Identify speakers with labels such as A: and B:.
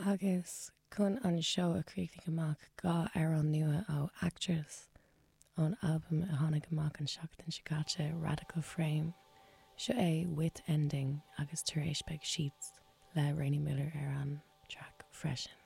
A: Agus chun an seó a chríochnú amach, 2 amhrán nua ó Actress, ón albam a tháinig amach an seachtain seo caite, Radical Frame. Seo é With Ending agus tar éis beidh Sheets le Rainey Miller ar an traic freisin.